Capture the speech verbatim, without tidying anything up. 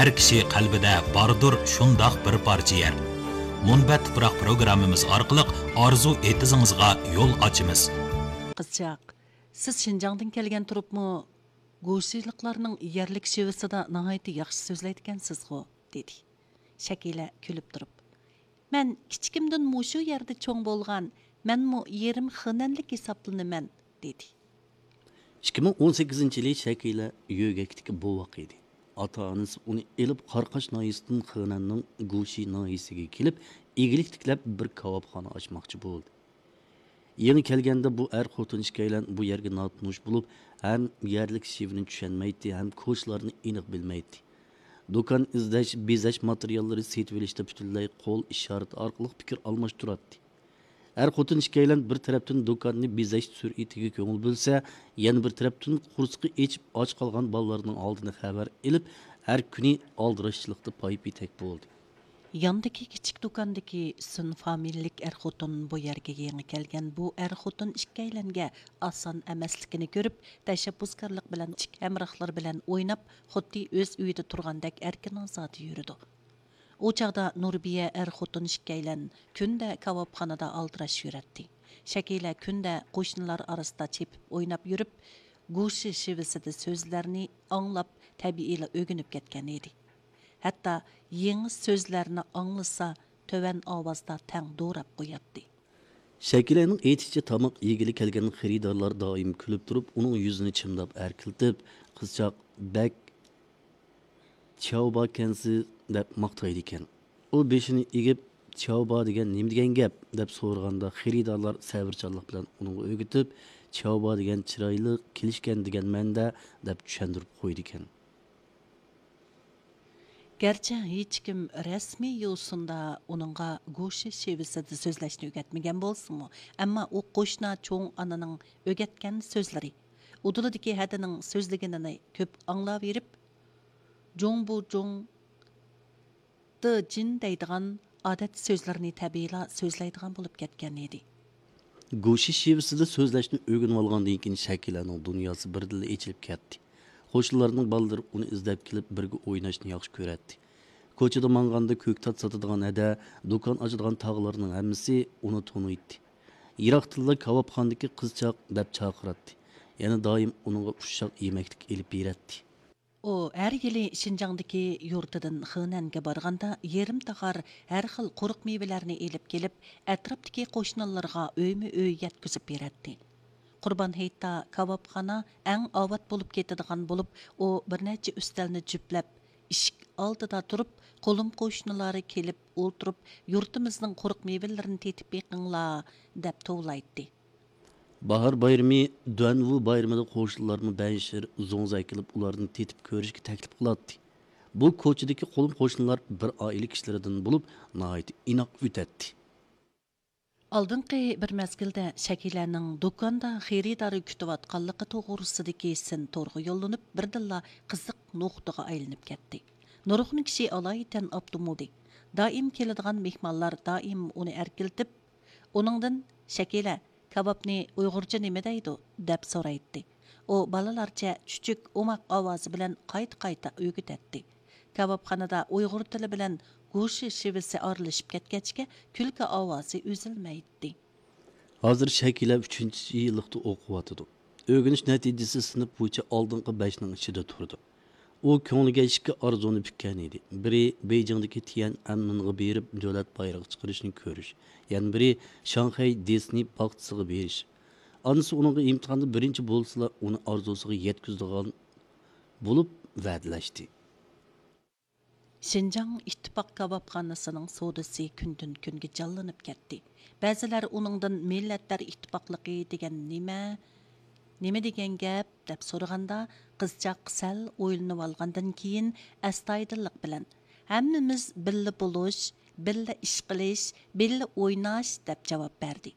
ھەر كىشى قەلبىدە باردۇر شۇنداق بىر پارچە يەر. مۇنبەت تۇپراق پروگراممىمىز ئارقىلىق ئارزۇ ئېتىزىڭىزغا يول ئاچىمىز. قىزچاق، سىز شىنجاڭدىن كەلگەن تۇرۇپمۇ گۇشىلىقلارنىڭ يەرلىك شېۋىسىدا ناھايىتى ياخشى سۆزلەيدىكەنسىزغۇ؟ دېدى. شەكىلە كۈلۈپ تۇرۇپ، مەن كىچىكىمدىن مۇشۇ يەردە چوڭ بولغان، مەنمۇ يېرىم خېنەنلىك ھېسابلىنىمەن، دېدى. ئىككى مىڭ ئون سەككىزىنچى يىلى شەكىلە يۆگەكتىكى بوۋاق ئىدى. ئاتا-ئانىسى ئۇنى ئېلىپ، قاراقاش ناھىيەسىدىن خېنەننىڭ گۇشى ناھىيەسىگە كېلىپ، ئىگىلىك تىكلەپ، بىر كاۋاپخانا ئاچماقچى بولدى. يېڭى كەلگەندە بۇ ئەر-خوتۇن ئىككىيلەن بۇ يەرگە ناتونۇش بولۇپ، ھەم يەرلىك شېۋىنى چۈشەنمەيتتى، ھەم كوچىلارنى ئېنىق بىلمەيتتى. دۇكان ئىزدەش، بېزەش ماتېرىياللىرى سېتىۋېلىشتا پۈتۈنلەي قول ئىشارىتى ئارقىلىق پىكىر ئالماشتۇراتتى. ئەر-خوتۇن ئىككىيلەن بىر تەرەپتىن دۇكاننى بېزەش سۈرئىتىگە كۆڭۈل بۆلسە، يەنە بىر تەرەپتىن قورسىقى ئېچىپ ئاچ قالغان بالىلىرىنىڭ ھالىدىن خەۋەر ئېلىپ، ھەر كۈنى ئالدىراشچىلىقتا پاي-پېتەك بولدى. ياندىكى كىچىك دۇكاندىكى سۈن فامىلىلىك ئەر-خوتۇن بۇ يەرگە يېڭى كەلگەن بۇ ئەر-خوتۇن ئىككىيلەنگە ئاسان ئەمەسلىكىنى كۆرۈپ، تەشەببۇسكارلىق بىلەن كىچىك ھەمراھلىرى بىلەن ئويناپ، خۇددى ئۆز ئۆيىدە تۇرغاندەك ئەركىن-ئازادە يۈرىدۇ. ئۇ چاغدا نۇربىيە ئەر-خوتۇن ئىككىيلەن كۈندە كاۋاپخانىدا ئالدىراش يۈرەتتى. شەكىلە كۈندە قوشنىلار ئارىسىدا چېپىپ ئويناپ يۈرۈپ، گۇشى شېۋىسىدە سۆزلەرنى ئاڭلاپ، تەبىئىيلا ئۆگىنىپ كەتكەن ئىدى. ھەتتا يېڭى سۆزلەرنى ئاڭلىسا، تۆۋەن ئاۋازدا تەڭ دوراپ قوياتتى. شەكىلەنىڭ ئېيتىشىچە، تاماق يېگىلى كەلگەن خېرىدارلار دائىم كۈلۈپ تۇرۇپ، ئۇنىڭ يۈزىنى چىمداپ ئەركىلىتىپ، قىزچاق بەك چياۋباكەنسىز دەپ ماختايدىكەن. ئۇ بېشىنى ئېگىپ، چياۋبا دېگەن نېمە دېگەن گەپ؟ دەپ سورىغاندا، خېرىدارلار سەۋرچانلىق بىلەن ئۇنىڭغا ئۆگىتىپ، چياۋبا دېگەن چىرايلىق، كېلىشكەن دېگەن مەنىدە، دەپ چۈشەندۈرۈپ قويىدىكەن. گەرچە ھېچكىم رەسمىي يوسۇندا ئۇنىڭغا گوشى شېۋىسىدا سۆزلەشنى ئۆگەتمىگەن بولسىمۇ، ئەمما ئۇ قوشنا چوڭ ئانىنىڭ ئۆگەتكەن سۆزلىرى، ئۇدۇلىدىكى ھەدىنىڭ سۆزلىگىنىنى كۆپ ئاڭلاۋېرىپ، جۇڭبۇجۇڭ، دېجىن دەيدىغان ئادەتتە سۆزلىرىنى تەبىئىيلا سۆزلەيدىغان بولۇپ كەتكەن ئىدى. گوشى شېۋىسىدا سۆزلەشنى ئۆگىنىۋالغاندىن كېيىن، شەكىلەنىڭ دۇنياسى بىردىنلا ئېچىلىپ كەتتى. قوشنىلارنىڭ بالىلىرى ئۇنى ئىزدەپ كېلىپ، بىرگە ئويناشنى ياخشى كۆرەتتى. كوچىدا ماڭغاندا كۆكتات ساتىدىغان ھەدە، دۇكان ئاچىدىغان تاغىلارنىڭ ھەممىسى ئۇنى تونۇيتتى. يىراقتىنلا كاۋاپخانىدىكى قىزچاق دەپ چاقىراتتى. يەنە دائىم ئۇنىڭغا ئۇششاق يېمەكلىك ئېلىپ بېرەتتى. ئۇ ھەر يىلى شىنجاڭدىكى يۇرتىدىن خېنەنگە بارغاندا، يېرىم تاخار ھەر خىل قۇرۇق مېۋىلەرنى ئېلىپ كېلىپ، ئەتراپتىكى قوشنىلىرىغا ئۆيمۇ ئۆي يەتكۈزۈپ بېرەتتى. قۇربان ھېيتتا كاۋاپخانا ئەڭ ئاۋات بولۇپ كېتىدىغان بولۇپ، ئۇ بىر نەچچە ئۈستەلنى جۈپلەپ، ئىشىك ئالدىدا تۇرۇپ، قولۇم قوشنىلار كېلىپ ئولتۇرۇپ، يۇرتىمىزنىڭ قۇرۇق مېۋىلىرىنى تېتىپ بېقىڭلار، دەپ توۋلايتتى. باھار بايرىمى، دۇەنۋۇ بايرىمىدا قوشنىلارمۇ بەنشىر، زوڭزا ئەكېلىپ، ئۇلارنى تېتىپ كۆرۈشكە تەكلىپ قىلاتتى. بۇ كوچىدىكى قولۇم قوشنىلار بىر ئائىلە كىشىلىرىدىن بولۇپ، ناھايىتى ئىناق ئۆتەتتى. ئالدىنقى بىر مەزگىلدە شەكىلەنىڭ دۇكاندا خېرىدار كۈتۈۋاتقانلىقى توغرىسىدىكى سىن تورغا يوللىنىپ، بىردىنلا قىزىق نۇقتىغا ئايلىنىپ كەتتى. نۇرغۇن كىشى ئالايىتەن ئاپتۇمۇدى. دائىم كېلىدىغان مېھمانلار دائىم ئۇنى ئەركىلىتىپ، ئۇنىڭدىن، «شەكىلە، كاۋاپنى ئۇيغۇرچە نېمە دەيدۇ؟» دەپ سورايتتى. ئۇ بالىلارچە چۈچۈك، ئوماق ئاۋازى بىلەن قايتا-قايتا ئۆگىتەتتى. كاۋاپخانىدا ئۇيغۇر تىلى بىلەن گوشى شېۋىسى ئارىلىشىپ كەتكەچكە، كۈلكە ئاۋازى ئۈزۈلمەيتتى. ھازىر شەكىلە ئۈچىنچى يىللىقتا ئوقۇۋاتىدۇ. ئۆگىنىش نەتىجىسى سىنىپ بويىچە ئالدىنقى بەشنىڭ ئىچىدە تۇرىدۇ. ئۇ كۆڭلىگە ئىككى ئارزۇنى پۈككەن ئىدى. بىرى بېيجىڭدىكى تيەنئەنمېنغا بېرىپ دۆلەت بايرىقى چىقىرىشنى كۆرۈش، يەنە بىرى شاڭخەي دىسنېي باغچىسىغا بېرىش. ئانىسى ئۇنىڭغا ئىمتىھاندا بىرىنچى بولسىلا، ئۇنى ئارزۇسىغا يەتكۈزىدىغان بولۇپ ۋەدىلەشتى. شىنجاڭ ئىتتىپاق كاۋاپخانىسىنىڭ سودىسى كۈندىن-كۈنگە جانلىنىپ كەتتى. بەزىلەر ئۇنىڭدىن مىللەتلەر ئىتتىپاقلىقى دېگەن نېمە، نېمە دېگەن گەپ دەپ سورىغاندا، قىزچاق سەل ئويلىنىۋالغاندىن كېيىن، ئەستايىدىللىق بىلەن، «ھەممىمىز بىللە بولۇش، بىللە ئىش قىلىش، بىللە ئويناش» دەپ جاۋاب بەردى.